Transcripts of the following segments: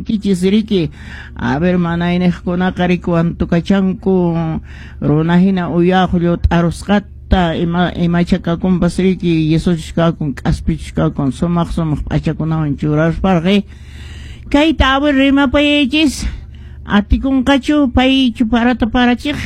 kashankichis riki. A ver, manayniqkunaqa riki wantukachanku runa hina uyaqllu t'arusqata imacha kakunpas riki, yesochus kakun, k'aspichus kakun, sumaq sumaq p'achakunawan churasparqi. Kayta a ver rimapayaychis, atikunqachu paychu parata parachiq?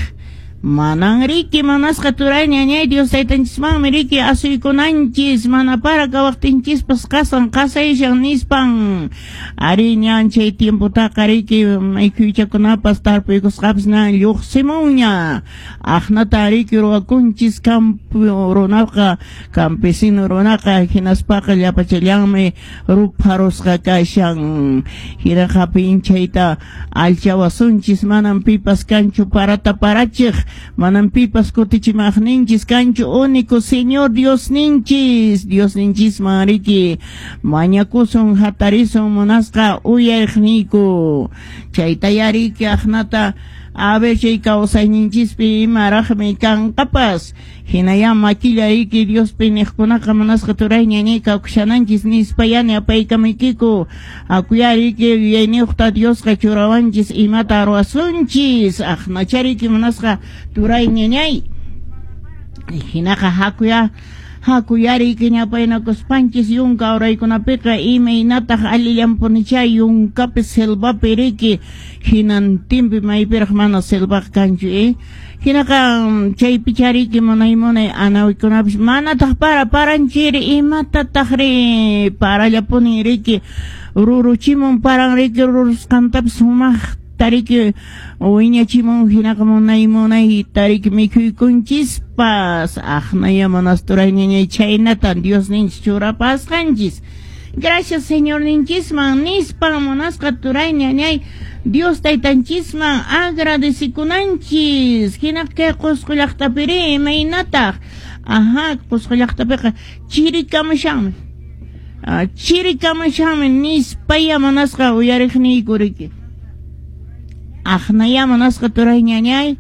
Manan riki, manasqa turay ñañay, Dios taytanchismanmi riki asuykunanchis, mana para kawaqtinchispas qasan qasayshan nispan. Ari ñan chay tiempotaqa riki mikhuychakunapas tarpuykusqapas ñan lluqsimunña. Aqnata riki ruwakunchis campo runaqa, campesino runaqa, hinaspaqa llapachallanmi rupharusqa kashan. Hinaqa pinchayta allchawasunchis, manan pipas kanchu parata parachiq, manan pipas kutichimaqninchis kanchu, único Señor Diosninchis. Diosninchisman riki mañakusun, hatarisun munasqa uyariqniyku. Chayta yariki aqnata a ver chay kawsayninchispi imaraqmi kanqapas. Hinaya makilla riki Diospi niqkunaqa munasqa turay ñañay kawshananchis nispa yani apaykamaykiku. Akuya riki yuyayniyuqta Diosqa churawanchis imata ruwasunchis. Aqnacha riki munasqa turay ñañay. Hinaqa hakuya hakuyariki ñapaynakuspanchis yunka uraykunapiqa imaynataq allillanpunicha yunkapi selvapi riki hinantinpi maypiraq mana selvaqa kanchu Hinaqa chaypicha riki munay munay anawikunapis manataq para paranchiri imatataq ri parallapuni riki ruruchimun paran riki rurusqantapis sumaqta riki wiñachimun hinaqa munay munay tariki mikhuykunchispas. Aqnaya monasturay ñañay, chhaynatan Diosninchis churapasqanchis. Gracias Señorninchisman nispan munasqa turay ñañay, Dios taytanchisman agradecikunanchis. Hinaqa kay Qusqu llaqtapiri imaynataq? Ajá, Qusqu llaqtapiqa chirikamushanmi. Chirikamushanmi nispaya munasqa uyariqniyku riki. Aqnaya munasqa turay ñañay.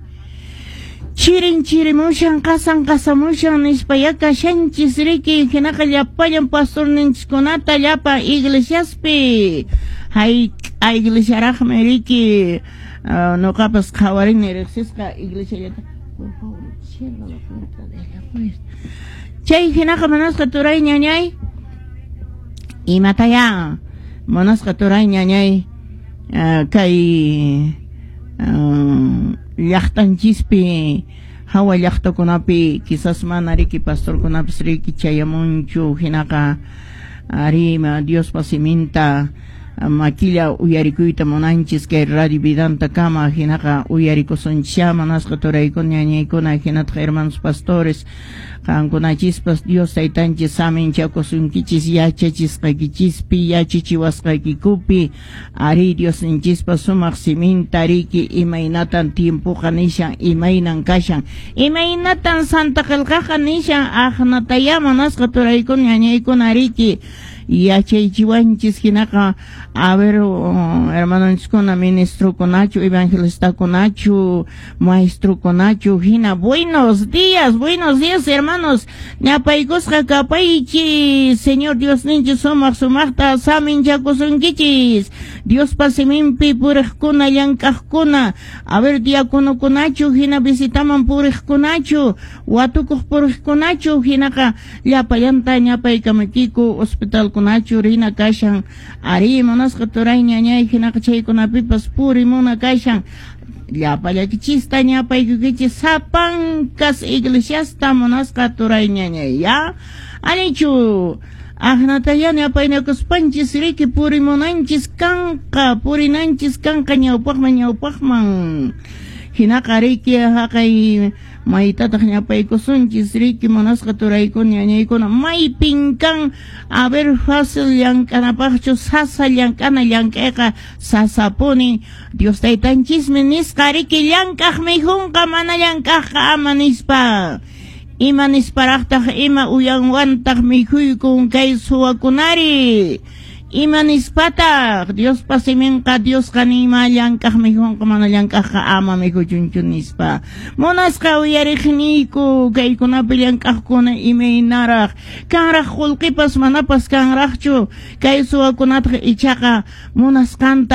Chirin chirimushan, qasan qasamushan nispaya kashanchis riki. Hinaqa llapallan pastorninchiskunata llapa iglesiaspi. Hayk'a iglesiaraqmi riki nuqapas qhawarini riqsisqa iglesiallata. Por favor, cierra la puerta de la puerta. Chay hinaqa munasqa turay ñañay. Imataya munasqa turay ñañay, kay llaqtanchispi hawa llaqtakunapi quizás mana riki pastorkunapis riki chayamunchu. Hinaqa ari Diospa siminta makilla uyarikuyta munanchis kay Radio Vidanta kama. Hinaqa uyarikusunchá munasqa turaykuna ñañaykuna, hinataq hermanos pastores, qankunachispas Dios taytanchis saminchakusunkichis yachachisqaykichispi, yachachiwasqaykikupi. Ari Diosninchispa sumaq siminta riki imaynatan tiempoqa nishan, imaynan kashan, imaynatan Santa Qillqaqa nishan, aqnataya munasqa turaykuna ñañaykuna riki yachaychiwanchis. Hinaqa a ver, hermanonchiskuna, ministrokunachu, evangelistakunachu, maestrokunachu, hina buenos días, buenos días hermanos, ñapaykusqa kapaychis. Señor Diosninchis sumaq sumaqta saminchakusunkichis. Diospa siminpi puriqkuna, llank'aqkuna, a ver, diaconokunachu, hina visitaman puriqkunachu, watukuq puriqkunachu, hinaqa llapallanta ñapaykamaykiku. Hospitalkunachu rina kashan, ari munasqa turay ñañay, hinaqa chaykunapipas purimuna kashan. Llapallakichista ñapaykukichis sapankas iglesiasta munasqa turay ñañay, ya allichu. Aqnataya ñapaynakuspanchis riki purimunanchis kanqa, purinanchis kanqa ñawpaqman ñawpaqman. Hinaqa riki haqay maytataq ñapaykusunchis riki munasqa turaykuna ñañaykuna, maypin kan a ver fácil llank'anapaqchu, sasa llank'ana, llank'ayqa sasapuni. Dios taytanchismi nisqa riki llank'aq mikhunqa, mana llank'aqqa ama nispa. Ima nisparaqtaq, ima uyanwantaq mikhuykun kay suwakunari? Ima nispataq Diospa siminqa, Diosqa nima llank'aq mikhunqa, mana llank'aqqa ama mikhuchunchu nispa. Munasqa uyariqniyku, kaykunapi llank'aqkuna imaynaraq kanraq, qullqipas manapas kanraqchu, kay suwakunataq ichaqa munasqanta.